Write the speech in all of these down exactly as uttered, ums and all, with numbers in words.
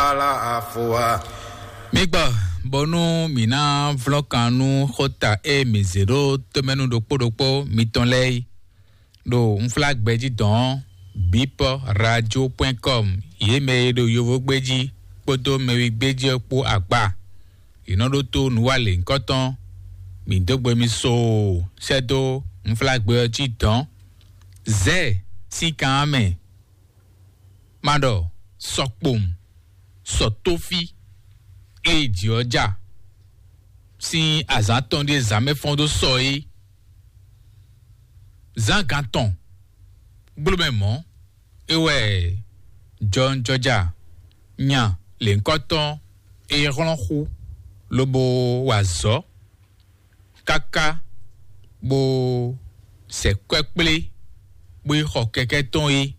Ala afua. Mi gbɔ, bónú mǐ ná vlɔ́n kan nú xóta e mǐ zě ɖó tomɛnu ɖokpó ɖokpó mitɔn lɛ́ɛ yi ɖo unflágbɛjí dɔn ɔ́, bipɔ radio point com, yě mɛ e ɖo yovogbéjí kpódó mɛwigbéjí ɔ́ kpó agba. Yě nɔ ɖótó nǔwalěŋkɔtɔn mǐ dó gbe mi soo sɛ́ dó unflágbɛ ɔ́ jí dɔn. Zɛ̌ sín kan ɔ́ mɛ, ma ɖɔ sɔ kpowun, sɔ tófí, ée jǐ ɔ́ ja sín azǎn tɔn ɖíe zǎn mɛ fɔ́n dó sɔ é. Zán gan tɔn gbló mɛ mɔ̌, é wɛ jɔnjɔja nya lěhunkɔtɔn e hlɔ́n xú lobo wa azɔ̌ káká bó sɛ kwɛ́ kplé bó yi xɔ kɛkɛ́ tɔn é.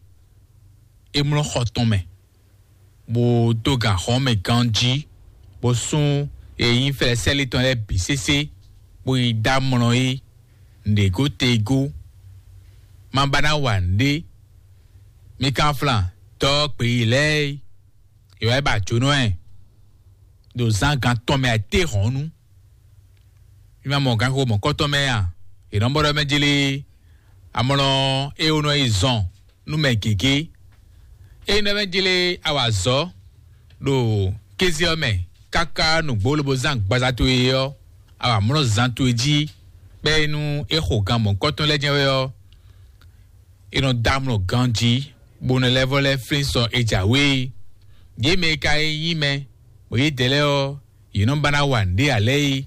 É mlɔ́ xɔ tɔn mɛ, bó dó gan xɔ́n mɛ ganjí, bó sú e nyí fɛ́sɛ́lí tɔn lɛ́ɛ bǐ sésé, bó yi dó amlɔ é nǔɖégó tegó. Ma ba ná wa nǔɖé. Mi kan flan dɔ́ gbeyílɛ́ é, è wá yi ba jǒnɔ ɛ ɖo zán gan tɔn mɛ ayǐtéhɔ̌nnu. Mi ma mɔ ganxixo mɔ̌kɔtɔn mɛ a? È nɔ bɔ ɖɔ mɛ jlé amlɔ é wó nɔ yi zɔn nú mɛ gěgé. Ényí ɖɔ mɛ jlé a wa azɔ̌ ɖo kéze ɔ́ mɛ káká nǔgbó lobo zán agbaza towe ɔ́, a wa mlɔ́ zan towe jí, bɛ́ é nú é xo gan mɔ̌kɔtɔn lɛ́ɛ jɛ́n wɛ ɔ́, è nɔ dó amlɔ ganjí, bó nɔ lɛ́ vɔ lɛ́ flín sɔ è jǎwe é. Yě mɛ e ka nyí mɛ, bɔ yědɛɛ lɛ́ɛ ɔ́, yě nɔ ba ná wa nǔɖé ǎ lɛ́ɛ é.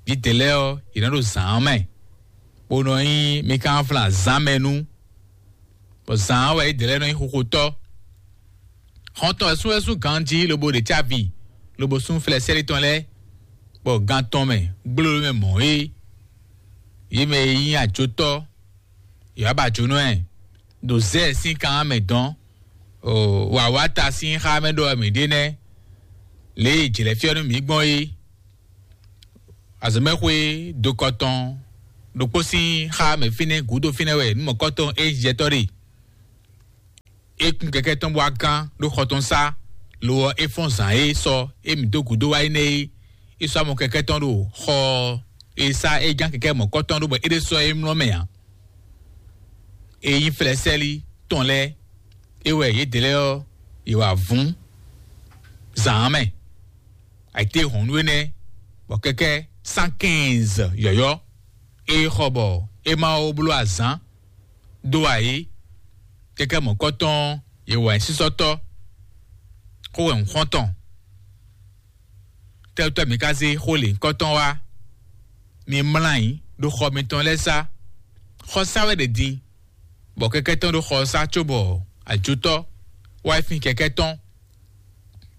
Yědɛɛ lɛ́ɛ ɔ́, yě nɔ ɖo zǎn ɔ́ mɛ, bó nɔ nyí Mikanflán zán mɛ nú, bɔ zǎn ɔ́ wɛ yědɛɛ lɛ́ɛ nɔ nyí xoxotɔ́. Xɔ́ntɔn wɛ sú wɛ sú ganjí lobo ɖe cávi, lobo sú flɛsɛ́lí tɔn lɛ́ɛ, bɔ gan tɔn mɛ gbló mɛ mɔ̌ é. Yě mɛ e nyí ajotɔ́, yě wá ba jǒnɔ ɛ ɖo Zɛ́ɛ sín kan mɛ dɔn. Wǎwáta sín xá mɛ ɖɔ wɛ mǐ ɖe nɛ́, lě e jlɛ̌ fyɔ́ nú mǐ gbɔn é. Azɔ̌mɛxwé dokɔtɔn ɖokpó sín xá mɛ fínɛ́ gǔdo fínɛ́ wɛ nǔmɔkɔ́tɔn Ejiptɔ́ ɖe. É kún kɛkɛ́ tɔn bó wá gán ɖó xɔ tɔn sá, lo ɔ́, é fɔ́n zǎn e sɔ é mǐ dó gǔdo wá é nɛ́ é. É sɔ́ amɔ kɛkɛ́ tɔn ɖo xɔ e sá é gán kɛkɛ́ mɔ̌kɔ́tɔn ɖó bɔ é ɖésú ɔ́ é mlɔ́ mɛ ǎ. É nyí flɛsɛ́lí tɔn lɛ́ɛ, é wɛ yědɛɛ lɛ́ɛ ɔ́, yě wá vún zǎn mɛ. Ayǐtéhɔ̌nnu énɛ́, bɔ kɛkɛ́ cent quinze yɔ̌yɔ́ é xɔ bɔ é ma ó bló azǎn dó ayǐ. Kɛkɛ́ mɔ̌kɔ́tɔn yě wá nyí sísɔ́tɔ́, xó wɛ un xɔ́n tɔn. Tɛ́tɔ́ mi ka zé xó lěhunkɔtɔn wá? Mi mlá ayǐ ɖo xɔ mitɔn lɛ́ɛ sá. Xɔ sá wɛ ɖe din, bɔ kɛkɛ́ tɔn ɖo xɔ sá cóbɔ ajotɔ́ wá yi fin kɛkɛ́ tɔn.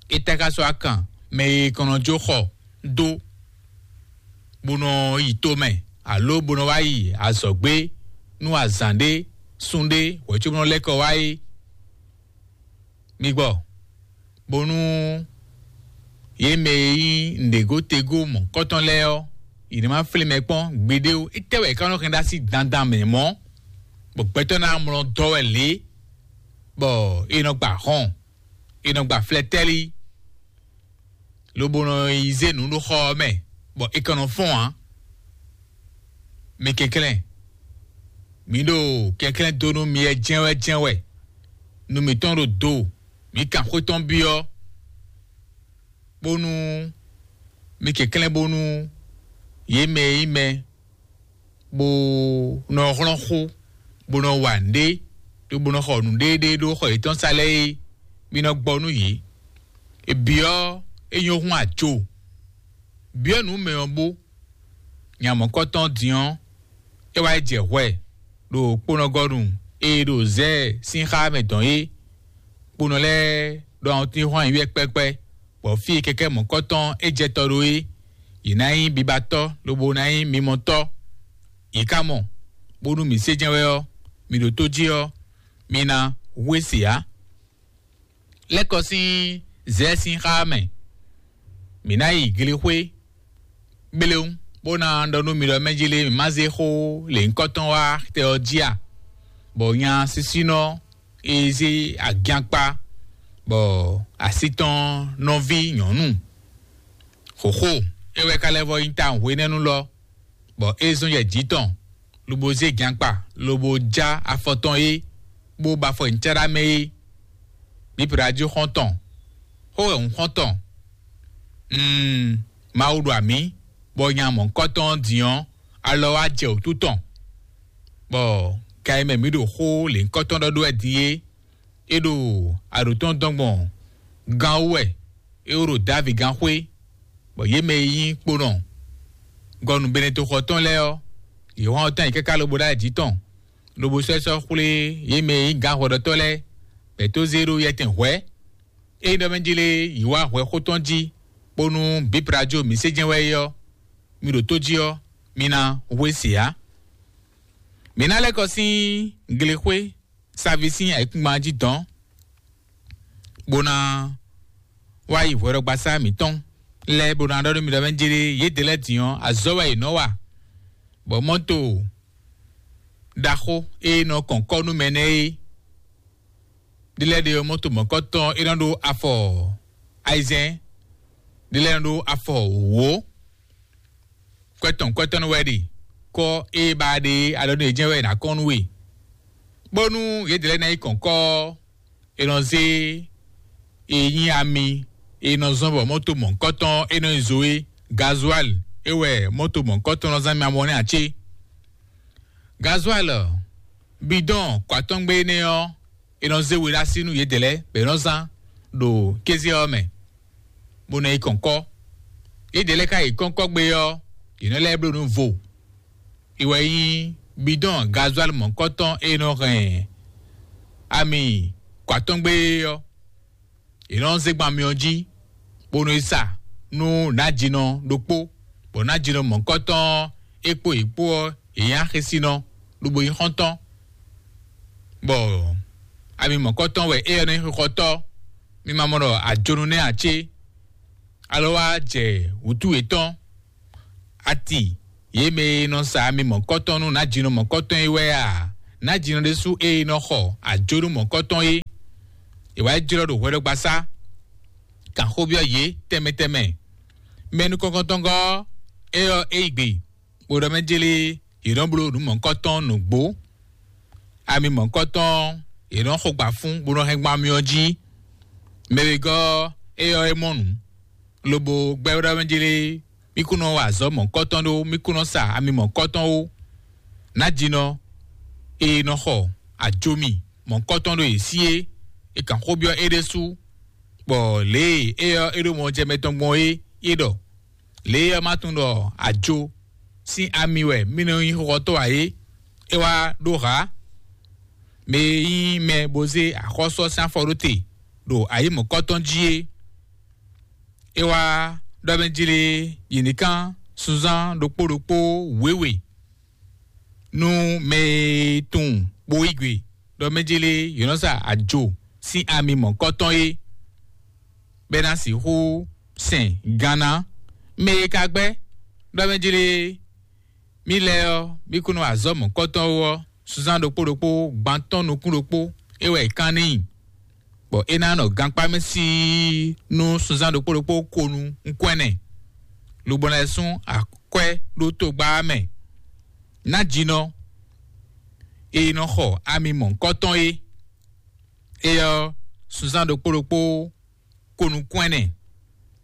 É tá ka sɔ́ akan mɛ e kɔn nɔ jó xɔ dó, bó nɔ yi tomɛ, alo bó nɔ wá yi azɔ̌gbé nú azǎn ɖé, sun ɖé, hwɛ̌cóbó nɔ lɛ́ kɔ wá é. Mi gbɔ, bónú yě mɛ e nyí nǔɖégótegó mɔ̌kɔtɔn lɛ́ɛ ɔ́, yě ní ma flín mɛ kpɔ́n gbeɖé ó. Étɛ́ wɛ é ka nɔ hɛn ɖó así dandan mɛ mɔ̌, bɔ gbɛtɔ́ ná mlɔ dɔ́ wɛ lě, bɔ è nɔ gba hɔn, è nɔ gba flɛtɛ́lí, lobo nɔ yi zé nǔ ɖo xɔ ɔ́ mɛ, bɔ è ka nɔ fɔ́n ǎ? Mi kɛnklɛ́n, mǐ ɖo kɛnklɛ́n dó nú mi wɛ jɛ́n wɛ jɛ́n wɛ. Nu mǐtɔn ɖo do, mǐ kan xwé tɔn byɔ́, bónú mi kɛnklɛ́n bónú yě mɛ e nyí mɛ bó nɔ hlɔ́n xó, bó nɔ wa nǔɖé, bó nɔ xɔ nǔɖéɖé ɖó xɔ yětɔn sá lɛ́ɛ é, mi nɔ gbɔ nú yě. È byɔ́ é nyɔ́ hún ajo, byɔ́ nǔ mɛ ɔ́ bó. Nya mɔ̌kɔtɔn din ɔ́, é wá yi jɛ hwɛ ɖo kponɔgɔnu e ɖo Zɛ́ɛ sín xá mɛ dɔn é. Kponɔ lɛ́ɛ ɖo awɔntín hɔn ayǐ wɛ kpɛ́kpɛ́, bɔ fí e kɛkɛ́ mɔ̌kɔtɔn é jɛ tɔ ɖó é, yě ná nyí bibatɔ́ lobo ná nyí mimɔtɔ́. Yě ka mɔ, bónú mǐ sé jɛ́n wɛ ɔ́, mǐ ɖo tó jí ɔ́, mi ná hu e se ǎ. Lɛ́ kɔ sín Zɛ́ɛ sín xá mɛ. Mǐ ná yi glixwé gblewún, bó ná ɖɔ nú mi ɖɔ mɛ jí lé mǐ má zé xó lěhunkɔtɔn wá tɛ ɔ́ jí a? Bɔ nya sísínɔ e zé agyankpa bɔ así tɔn nɔví nyɔ̌nu xǒxo é wɛ ka lɛ́ vɔ nyí ta hwenɛ́nu lɔ, bɔ é zɔ́n yɛ jǐ tɔn, lobo zé gankpa, lobo já afɔ tɔn é, bó ba afɔ nyi cáɖá mɛ é. Bíblá jí xɔ́ntɔn, xó wɛ hǔn xɔ́ntɔn. Mm, Mawu ɖo amǐ, bɔ nya mɔ̌hunkɔtɔn ɔ́ din ɔ́, alɔ wá jɛ wǔtu tɔn, bɔ ga e mɛ mǐ ɖo xó lěhunkɔtɔn ɖɔ ɖó wɛ din é, é ɖo aɖǒ tɔn dɔn gbɔn gán wú wɛ, é wó ɖo Davi gán xwé, bɔ yě mɛ e nyí kponɔ gɔnu Benetoxɔ tɔn lɛ́ɛ ɔ́, yě hɔn ɔ́ tán yi káká lobo ɖó ayǐ jǐ tɔn, lobo sɔ́ ɛ sɔ́ xwlé yě mɛ e nyí gǎnhwɛɖɔtɔ́ lɛ́ɛ, bɔ è tó zé ɖó yɛtɛn hwɛ̌. Ényí ɖɔ mɛ jlé yi wá hwɛ xó tɔn jí, bónú bǐblá jó mǐ sé jɛ́n wɛ é ɔ́, mi ɖo tó jí ɔ́, mi ná hwe se ǎ. Mǐ ná lɛ́ kɔ sín glexwé saví sín ayǐkúngban jí dɔ̌n, bó ná wá yi hwɛɖɔgbasá mǐtɔn lɛ́ɛ, bó ná ɖɔ nú mi ɖɔ mɛ jlé yědɛɛ lɛ́ɛ din ɔ́, azɔ̌ wɛ yě nɔ wa, bɔ mɔ́to ɖaxó e nɔ kɔn kɔ́ nú mɛ nɛ́ é. Ɖi lɛ́ɛ ɖe ɔ́, mɔ́to mɔ̌kɔtɔn é nɔ ɖó afɔ ayizɛ́n, ɖi lɛ́ɛ nɔ ɖó afɔ wǒ. Kwɛ́tɔn kwɛ́tɔ́ nú wɛ ɖe kɔ́ e ba ɖe alɔ nú yě jɛ́n wɛ è nǎ kɔn nú we, bónú yědɛɛ lɛ́ɛ ná yi kɔn kɔ́ ɔ́, è nɔ zé e nyí ami e nɔ zɔ́n bɔ mɔ́to mɔ̌kɔtɔn é nɔ nyi zo é. Gazual é wɛ mɔ́to mɔ̌kɔtɔn nɔ zán mi amɔ nɛ́ ǎ cé? Gazual bidɔn kɔatɔ́ngbe énɛ́ ɔ́, è nɔ zé we ɖó así nú yědɛɛ lɛ́ɛ bɔ è nɔ zán ɖo kéze ɔ́ mɛ, bó nɔ yi kɔn kɔ́. Yědɛɛ lɛ́ɛ ka yi kɔ́nkɔ́gbe ɔ́, yě nɔ lɛ́ bló nǔ vo. È wɛ nyí bidɔn gazual mɔ̌kɔtɔn e nɔ hɛn ami kɔatɔ́ngbe é ɔ́, è nɔ zé gban myɔ jí, bó nɔ yi sa nú nǎjínɔ ɖokpó, bɔ nǎjínɔ mɔ̌kɔtɔn ɔ́, é kpó yě kpó ɔ́, yě nyí axésinɔ, lobo nyí xɔ́ntɔn, bɔ ami mɔ̌kɔtɔn wɛ éyɛ́ nɔ nyí xixɔtɔ́. Mi ma mɔ ɖɔ ajonu nɛ́ ǎ cé? Alɔ wá jɛ wǔtu yětɔn, ati yě mɛ e nɔ sa ami mɔ̌kɔtɔn nú nǎjínɔ mɔ̌kɔtɔn é wɛ a? Nǎjínɔ ɖésú e nɔ xɔ ajonu mɔ̌kɔtɔn é, è wá yi jlɔ́ ɖo hwɛɖɔgbasá, kan xó byɔ́ yě tɛnmɛ tɛnmɛ. Mɛ nukɔntɔngɔ́ ɔ́, é ɔ́, é yi gbe, bó ɖɔ mɛ jlé yě nɔ bló nǔ mɔ̌hunkɔtɔn nǔgbó. Ami mɔ̌hunkɔtɔn yě nɔ xo gba fún, bó nɔ hɛn gban myɔ jí. Mɛ wegɔ́ ɔ́, é ɔ́, é mɔ nǔ, lobo gbɛ́ ɖɔ mɛ jlé, mí kún nɔ wa azɔ̌ mɔ̌hunkɔtɔn ɖó, mí kún nɔ sa ami mɔ̌hunkɔtɔn ó. Nǎjínɔ e nɔ xɔ ajomi mɔ̌hunkɔtɔn ɖo yě sí é, è kan xó byɔ́ é ɖésú, bɔ lě e é ɔ́ é ɖo mɔ jɛ mɛ tɔn gbɔn é, é ɖɔ: Lě e ɔ́, ma tunwun ɖɔ ajo sín ami wɛ mì nɔ nyí xɔxɔtɔ́ ǎ é? É wá ɖó hǎ, mɛ e nyí mɛ bó zé axɔ́sú ɔ́ sín afɔ ɖó te ɖo ayǐ mɔ̌kɔtɔn jí é. É wá ɖɔ mɛ jlé yě ní kán sunzán ɖokpó ɖokpó wěwe nú mɛ e tunwun bó yí gbe ɖɔ mɛ jlé yě nɔ sa ajo sín ami mɔ̌kɔtɔn é, bɔ é ná sixú sɛn gan ná. Mɛ e ka gbɛ́ ɖɔ mɛ jlé mì lɛ́ɛ ɔ́, mì kún nɔ azɔ̌ mɔ̌kɔtɔn ó ɔ́, sunzán ɖokpó ɖokpó gban tɔn nukún ɖokpó é wɛ è kán n'i, bɔ é ná nɔ gankpá mɛ síi nú sunzán ɖokpó ɖokpó ko nú nkwɛ́nɛ, lobo ná lɛ́ sún akwɛ́ ɖó togba ɔ́ mɛ. Nǎjínɔ e nɔ xɔ ami mɔ̌hunkɔtɔn é, é ɔ́, sunzán ɖokpó ɖokpó ko nukún ɛnɛ,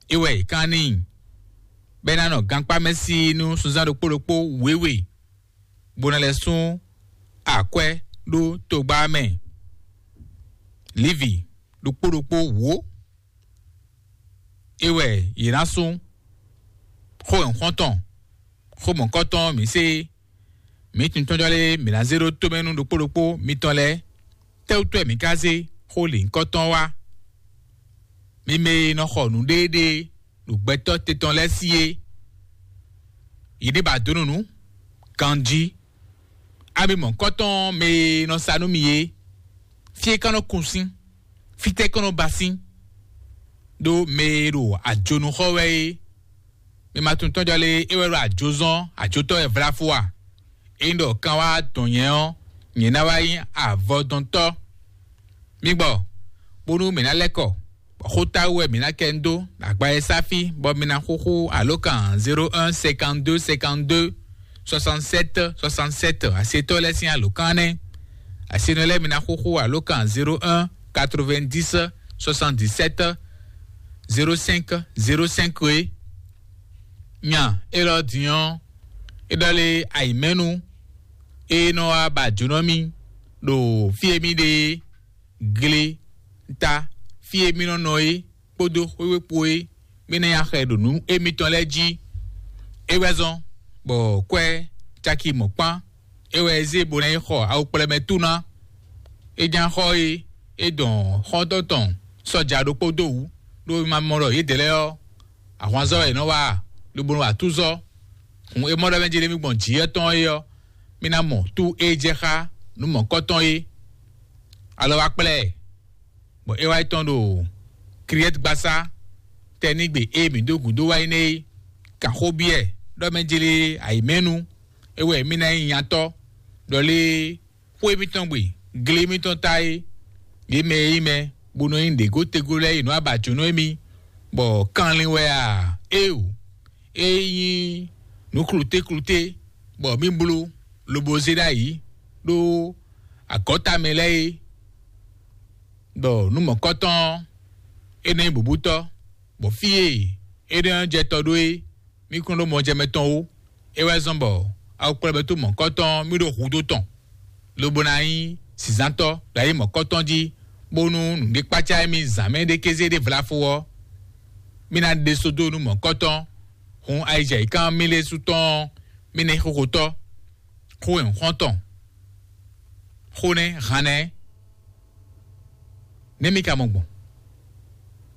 é wɛ è kán n'i, bɔ é ná nɔ gankpá mɛ síi nú sunzán ɖokpó ɖokpó wěwe, bó ná lɛ́ sún akwɛ́ ɖó togba ɔ́ mɛ. Livi ɖokpó ɖokpó wǒ, é wɛ yě ná sún. Xó nyɔ̌xɔ́ntɔn, xó mɔ̌kɔtɔn mǐ se, mǐ tuntɔ́njɔ lé mǐ ná zé ɖó tomɛ nú ɖokpó ɖokpó mitɔn lɛ́ɛ. Tɛ́wútu wɛ mǐ ka zé xó lǐnkɔ́tɔn wá? Mi mɛ e nɔ xɔ nǔɖéeɖée ɖo gbɛtɔ́ te tɔn lɛ́ɛ sí é, yě ní ba dǒ nǔ nú ganjí. Ami mɔ̌kɔtɔn mɛ e nɔ sa nú mi é, fí é ka nɔ kun sín, fítɛ́ kɔn nɔ ba sín, ɖó mɛ e ɖo ajonu xɔ wɛ é. Mi ma tunwun tɔ́jɔ́ lé é wɛ ɖo ajo zɔ́n, ajotɔ́ wɛ vlá fó a? Ényí ɖɔ kan wá dɔn nyɛ ɔ́, nyɛ ná wá nyí avɔdɔntɔ́. Mi gbɔ, bónú mǐ ná lɛ́ kɔ. Xótáwú wɛ mǐ ná kɛ ń dó agba e sá fí, bɔ mi ná xúxú alǒkan zéro un cinquante-deux cinquante-deux soixante-sept soixante-sept. Asetɔ́ lɛ́ɛ sín alǒkan nɛ́. Asenɔ lɛ́ɛ mi ná xúxú alǒkan zéro un quatre-vingt-dix soixante-dix-sept zéro cinq zéro cinq é. Nya élɔ́ din ɔ́, é ɖɔ lé ayǐmɛ́nu e nɔ wá ba jǒnɔ mì ɖo fí e mì ɖe é, gle ta fí e mì nɔ nɔ é kpódó xwéwékpo e mì nɔ nyi axɛ ɖo nǔ émítɔn lɛ́ɛ jí. É wɛ zɔ́n bɔ kwɛ́ caki mɔ̌kpán é wɛ é zé bó ná yi xɔ awukplɛ́mɛ tú ná. É ján xɔ e é dɔn xɔ́ntɔn tɔn sɔ́ja ɖokpó dó wǔ, ɖó é ma mɔ ɖɔ yědɛɛ lɛ́ɛ ɔ́, ahwanzɔ́ wɛ è nɔ wa a, lobo nɔ wa túzɔ́. Hǔn é mɔ ɖɔ mɛ jlé mì gbɔn jǐ yɛ́ tɔn é ɔ́, mì ná mɔ tú e jɛ xá nǔ mɔ̌kɔtɔn é. Alɔ wá kplá ɛ, bɔ é wá yi tɔn ɖo Kriɛ́tgbasá tɛnígbe e mǐ dó gǔdo wá yi nɛ́ é. Kan xó byɔ́ ɛ ɖɔ mɛ jlé ayǐmɛ́nu é wɛ mì ná nyí nyatɔ́, ɖɔ lé xwé mǐtɔn gbe, gle mǐtɔn ta é. Yě mɛ e nyí mɛ bó nɔ nyí ɖěgótegó lɛ́ɛ yi nǔ abǎjǔnɔ émí, bɔ kanlin wɛ a? Éeǒ, é nyí nǔ klutékluté, bɔ mǐ bló lobo zé ɖ'ayǐ ɖó agɔ̌ta mɛ lɛ́ɛ é, bɔ nǔ mɔ̌kɔtɔn ɔ́, é nɔ nyí bǔbútɔ́, bɔ fí e é nɔ jɛ tɔ ɖó é, mí kún ɖó mɔjɛmɛ tɔn ó. É wɛ zɔ́n bɔ awukplɔ́bɛ́tú mɔ̌kɔtɔn mí ɖo hudó tɔn, lobo ná nyí zǐnzántɔ́ ɖo ayǐ mɔ̌kɔtɔn jí, bónú nǔɖé kpácá émí zǎn mɛ ɖé kéze ɖé vlafo ɔ́, mí ná ɖe sódó nú mɔ̌kɔtɔn. Hǔn ayǐjɛ̌yǐkan mí lɛ́ɛ su tɔn ɔ́, mí ná nyí xóxotɔ́, xó e un xɔ́n tɔn, xó nɛ́ han nɛ́. Nɛ́ mí ka mɔ gbɔn?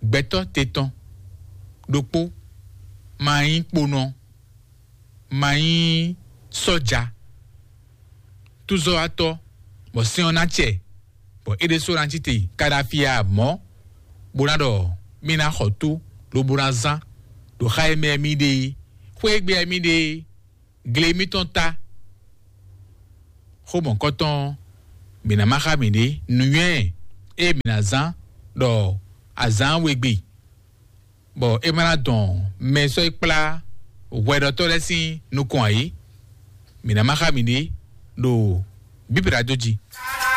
Gbɛtɔ́ te tɔn ɖokpó ma nyí kponɔ, ma nyí sɔ́ja, túzɔ́watɔ́, bɔ sɛ́n ɔ́ ná cɛ, bɔ é ɖésú ná cí te Kaɖafi ǎ mɔ̌, bó ná ɖɔ mí ná xɔ tó, lobo ná zán ɖo xá e mɛ mí ɖe é. Xwé e gbe mí ɖe é, gle mítɔn ta. Xó mɔ̌kɔtɔn ɔ́, mǐ ná má xá mǐɖée nǔnywɛ́ e mǐ ná zán ɖɔ azǎn wegbe, bɔ é ma ná dɔn mɛ e sɔ́ yi kplá hwɛɖɔtɔ́ lɛ́ɛ sín nukɔn ǎ é. Mǐ ná má xá mǐɖée ɖo Bíbla dó jí.